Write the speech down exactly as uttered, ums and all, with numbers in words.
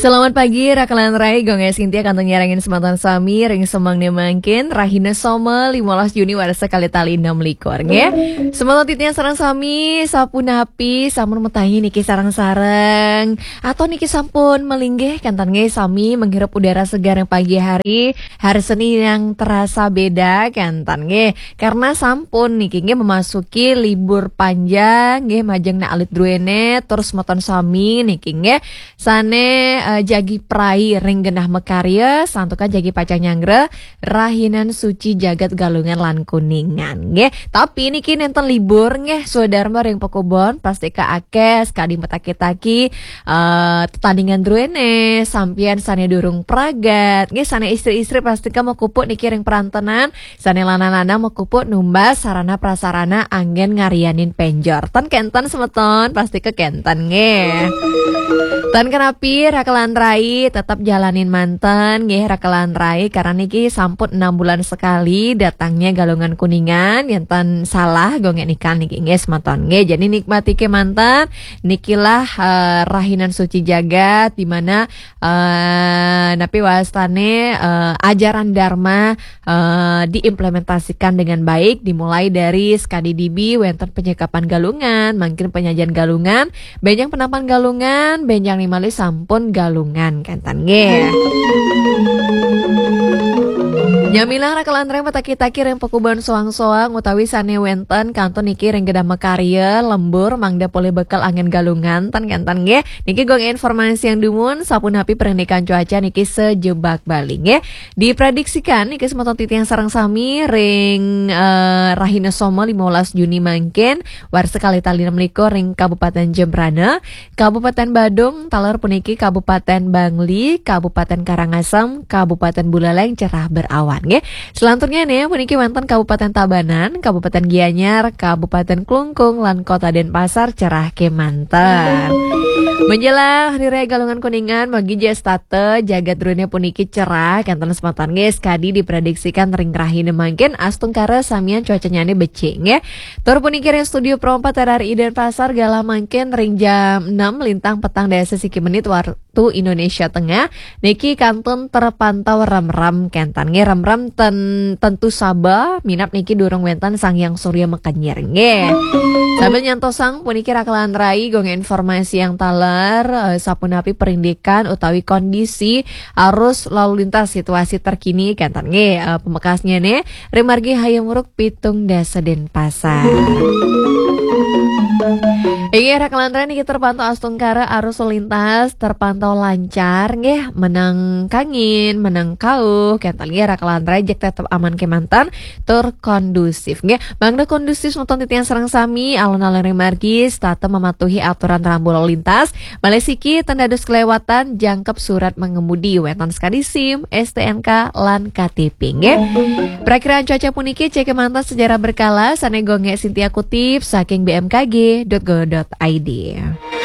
Selamat pagi, Raka lan Rai, Gung Sintia kantun nyarengin semeton sami, ring semangné mangkin, rahina Soma, limolas Juni, warsa kalih tali enam likur, nggih. Semeton titiang sareng sami, sapunapi, sampun matahi niki sareng-sareng, atau niki sampun malinggih, kenten nggih sami menghirup udara segar yang pagi hari, hari Senin yang terasa beda, kenten nggih. Karena sampun niki nggih memasuki libur panjang, nggih majeng nak alit druene, terus semeton sami niki nggih sane, eh, jagi prai ring genah makarya, santukan jagi pacang nyanggra rahinan suci jagat Galungan lan Kuningan, nggih. Tapi niki nenten libur, nggih, swadarma ring pakubon, pastika akeh, sakadi mataki-taki, eh, tetandingan druene, sampiyan sane durung pragat, nggih, sane istri-istri pastika makupuk niki ring perantenan, sane lanang-lanang makupuk numbas sarana prasarana anggen ngarianin penjor. Ten kenten semeton, pastika kenten, nggih. Ten kenapi, Raka lan Rai, tetap jalanin manten, nggih, Raka lan Rai, karena niki sampun enam bulan sekali datangnya Galungan Kuningan, enten salah, Gung Nika niki, nggih, semeton, nggih. Jadi nikmati ke manten, nikilah, eh, rahinan suci jagat, di mana, eh, napi wastane, eh, ajaran Dharma, eh, diimplementasikan dengan baik, dimulai dari sekadi dibi wenten penyekapan Galungan, mangkin penyajian Galungan, benjang penapan Galungan, benjang nimali sampun Galungan, kenten nggih. Nyamilang Raka lan Rai mataki-taki ring pakubon soang-soang utawi sane wenten kantun niki ring genah makarya, lembur, mangda polih bekel anggen Galungan, ten kenten nggih. Niki Gung informasi yang dumun, sapunapi perindikan cuaca niki sejebak Bali nggih. Diprediksikan niki semeton titiang sareng sami ring, eh, rahina Soma limolas Juni mangkin, warsa kalih tali enam likur ring Kabupaten Jembrana, Kabupaten Badung, taler puniki Kabupaten Bangli, Kabupaten Karangasem, Kabupaten Buleleng cerah berawan nggih. Selanturnya nih puniki wenten Kabupaten Tabanan, Kabupaten Gianyar, Kabupaten Klungkung, lan Kota Denpasar cerah kemanten. Menjelang Hari Raya Galungan Kuningan, magi jas tata jagat druene puniki cerah, kenten semeton nggih, sekadi diprediksikan ring rahina mangkin astungkara samian cuacanyane becik nggih. Tur puniki ring studio Pro empat R R I Denpasar galah mangkin ring jam enam lintang petang dasa siki menit waktu Indonesia Tengah. Niki kantun terpantau remrem kenten nggih, remrem ten, tentu saba minab niki durung wenten Sang Hyang Surya makenyir nggih. Sambil nyantosang puniki Raka lan Rai Gung informasi yang taler, eh, sapunapi perindikan utawi kondisi arus lalu lintas situasi terkini kenten nggih, eh, pamekasnya nih, ring margi Hayam Wuruk pitung dasa Denpasar. Inggih, Raka lan Rai niki terpantau astungkara arus lalu lintas terpantau lancar nggih, menang kangin, menang kauh, kenten nggih Raka lan Rai jeg tetep aman kemanten tur kondusif nggih. Mangda kondusif semeton titiang sareng sami, alon-alon ring margi setata mematuhi aturan rambu lalu lintas, malih siki ten dados kelewatan jangkep surat mengemudi, wenten sekadi SIM, STNK, lan KTP nggih. Prakiraan cuaca puniki cek kemanten secara berkala, sane Gung Sintia kutip saking B M K G dot go dot I D.